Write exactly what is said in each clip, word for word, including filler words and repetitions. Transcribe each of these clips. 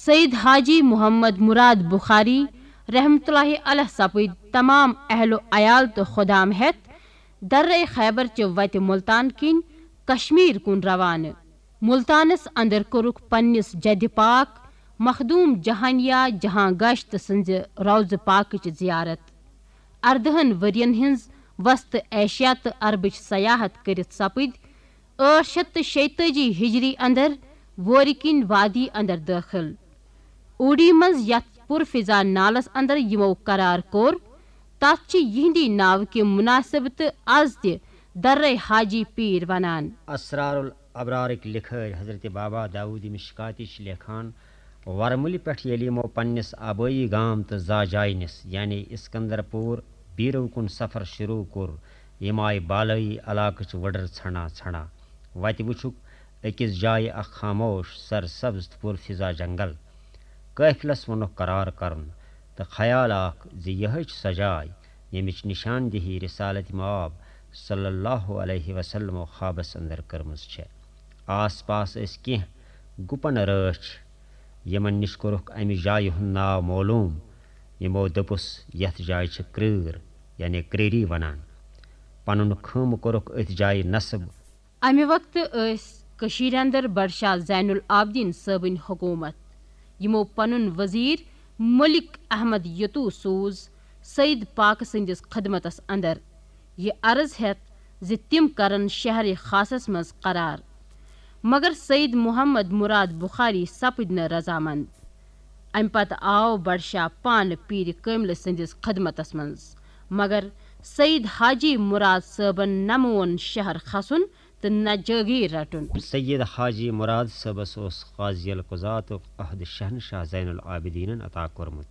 سید حاجی محمد مراد بخاری رحمتہ اللہ علیہ سپٕدۍ تمام اہل و عیال تہٕ خدام ہٮ۪تھ درے خیبر چہِ وتہِ ملتان کِنۍ کشمیر کُن روانہٕ۔ ملتانس اندر کوٚرُکھ پننِس جدِ پاک مخدوم جہانیہ جہاں گشت سٕنزِ روضہ پاکٕچ زیارت۔ اردہن ؤرین ہٕنز وسط ایشیا تہٕ عربٕچ سیاحت کٔرِتھ سپٕدۍ ٲٹھ شیتھ تہٕ شیٚتٲجی ہجری اندر وورِ کِنۍ وادی اندر دٲخل۔ اوڈی منز یتھ پُرفضا نالس اندر یِمو قرار کوٚر، تتھ چھِ یِہندی ناوٕ کہِ مناسبتہٕ از تہِ درے حاجی پیٖر ونان۔ اسرار الابرارٕکۍ لکھٲرۍ حضرت بابا داؤد مشکاتی چھِ لیکھان، ورمُلہِ پٮ۪ٹھ ییٚلہِ یِمو پننِس آبٲیی گام تہٕ زا جایہِ نِس، یعنی اسکندر پور بیرو کُن سفر شروع کوٚر، یِم آیہِ بالٲیی علاقٕچ وٕڈٕر ژھنڈان ژھنڈان۔ وتہِ وٕچھُکھ أکِس جایہِ اکھ خاموش، سرسبز تہٕ پُرفضا جنگل۔ قٲفلس ووٚنُکھ قرار کرُن، تہٕ خیال آکھ زِ یِہے چھِ سۄ جاے، ییٚمِچ نشاندہی رسالت مآب صلی اللہ علیہ وسلمو خوابس اندر کٔرمٕژ چھےٚ۔ آس پاس ٲسۍ کینٛہہ گُپن رٲچھ، یِمن نِش کوٚرُکھ امہِ جایہِ ہُنٛد ناو معلوم۔ یِمو دوٚپُس، یتھ جایہِ چھِ کرٛٲر، یعنی کرٛیری ونان۔ پنُن خۭمہٕ کوٚرُکھ أتھۍ جایہِ نصب۔ امہِ وقتہٕ ٲسۍ کٔشیٖرِ اندر بڈشاہ زین العابدین صٲبٕنۍ حکومت، یِمو پنُن وزیر ملک احمد یتو سوز سید پاک سٕنٛدِس خدمتس اندر، یہِ عرض ہٮ۪تھ زِ تِم کرن شہرِ خاصس منٛز قرار۔ مگر سید محمد مراد بخاری سپٕدۍ نہٕ رضامند۔ امہِ پتہٕ آو بڈشاہ پانہٕ پیٖرِ کٲملہٕ سٕنٛدِس خدمتس منٛز، مگر سید حاجی مراد صٲبن نہ مون شہر کھسُن تہٕ نہ جٲگیٖر رٹُن۔ سید حاجی مراد صٲبس اوس قاضی القضاتُک عہد شہنشاہ زین العابدینن عطا کوٚرمُت،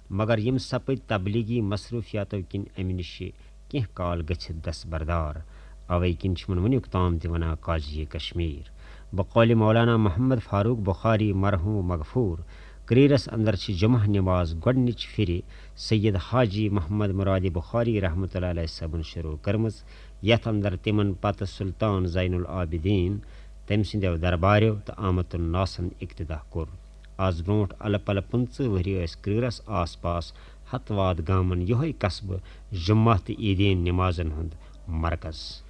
مگر یِم سپٕدۍ تبلیغی مصروفیاتو کِنۍ امہِ نِشہِ کینٛہہ کال گٔژھِتھ دستبردار۔ اوے کِنۍ چھِ یِمن وُنیُک تام تہِ ونان قاضی کشمیر۔ بقول مولانا محمد فاروق بخاری مرحوم مغفور، کریرس اندر چھِ جمعہ نماز گۄڈنِچ پھِرِ سید حاجی محمد مراد بخاری رحمتہ اللہ علیہ صٲبن شروع کٔرمٕژ، یتھ اندر تِمن پتہٕ سلطان زین العابدین، تٔمۍ سٕنٛدیو درباریو تہٕ آمت الناسن اقتدا کوٚر۔ از برونٛٹھ الہٕ پلہٕ پٕنٛژٕہ ؤری ٲسۍ کریرس آس پاس ہتہٕ واد گامن یِہوٚے قصبہٕ جمعہ تہٕ عیدین نمازن ہُنٛد مرکز۔